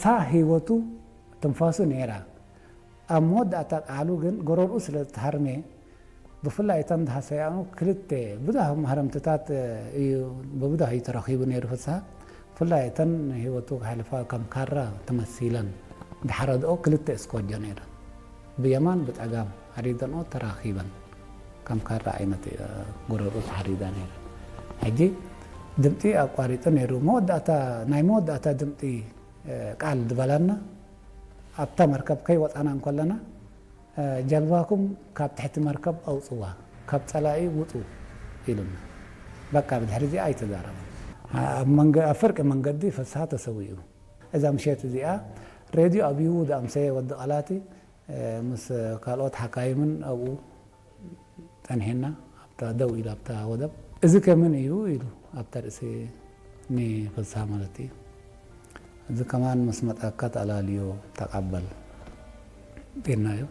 እታ ህይወቱ ትንፋሱ ነይራ። ኣብ መወዳእታ ቃሉ ግን ጎረርኡ ስለ ዝተሃርመ፣ ብፍላይ እተን ዝሃሰያኑ ክልተ ብዙሕ ማህረምትታት እዩ፣ ብብዙሕ እዩ ተረኺቡ ነይሩ ፍስሃ። ብፍላይ እተን ህይወቱ ክሕልፋ ከም ካራ ተመሲለን ዝሓረድኦ ክልተ እስኮጆ ነይረን። ብየማን ብጸጋም ሓሪደንኦ ተራኺበን ከም ካራ ዓይነት፣ እ፣ ጎረርኡ ተሓሪዳ ነይረ። ሕጂ ድምጺ ኣቋሪጡ ነይሩ። መወዳእታ፣ ናይ መወዳእታ ድምጺ፣ እ፣ ቃል ዝበላና ኣብታ መርከብ ከይወጻና እንከለና፣ እ፣ "ጀልባኩም ካብ ትሕቲ መርከብ ኣውጽዋ፣ ካብ ጸላኢ ውጹ" ኢሉና። በቃ ብድሕሪ እዚኣ ኣይተዛረበን። ኣብ መንገ-፣ ኣብ ፍርቂ መንገዲ ፍስሃ ተሰዊኡ። እዛ ምሸት እዚኣ ሬድዮ ኣብዩ ዝኣምሰየ ወዲ ቃላቲ፣ እ፣ ምስ ካልኦት ሓካይምን ኣብኡ ጸኒሕና፣ ኣብታ ደው ኢላ ኣብታ ወደብ። "እዚ ከ መን እዩ?" ኢሉ ኣብታ ርእሲ ንፍስሃ ማለት እዩ። "እዚ ከማን ምስ መጻካ ተኣላልዮ ተቐበል" ኢልናዮ።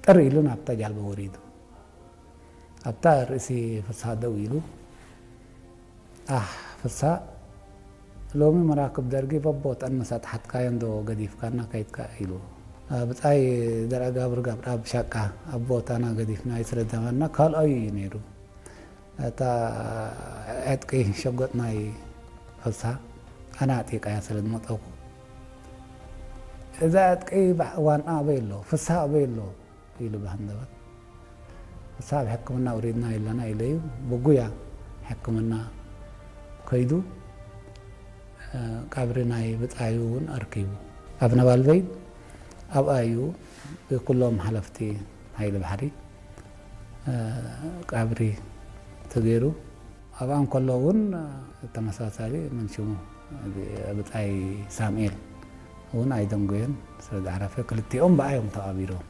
ጥር ኢሉ ናብታ ጃልባ ወሪዱ። ኣብታ ርእሲ ፍስሃ ደው ኢሉ፣ "ኣህ ፍስሃ፣ ሎሚ መራክብ ደርጊ በቦተን ምስ ኣጥሓትካየን ዶ ገዲፍካና ከይድካ?" ኢሉ። ብጻይ ዘርኣጋብር ገብረኣብ ሻቃ ኣብ ቦታና ገዲፍናዮ ስለ ዝነበርና ካልኣዩ እዩ ነይሩ። እታ ዕጥቂ ሸጎጥ ናይ ፍስሃ ኣነ ኣጥቂየ ስለ ዝመጸኹ፣ "እዛ ዕጥቂ ባዕ-፣ ዋንኣ ኣበይ ኣሎ? ፍስሃ ኣበይ ኣሎ?" ኢሉ ብሃንደበት። "ንሳ ኣብ ሕክምና ውሪድና ኣለና" ኢለዩ። ብጉያ ሕክምና ከይዱ፣ እ፣ ቀብሪ ናይ ብጻዩ እውን ኣርኪቡ። ኣብ ነባልበይ ኣብኣ እዩ ብኩሎም ሓለፍቲ ሓይሊ ባሕሪ፣ እ፣ ቀብሪ ተገይሩ። ኣብኣ እንከሎ እውን ተመሳሳሊ፣ መን ሽሙ፣ ብጻይ ሳሙኤል እውን ኣይደንጎየን ስለ ዝዓረፈ፣ ክልቲኦም ብኣዮም ተቐቢሮም።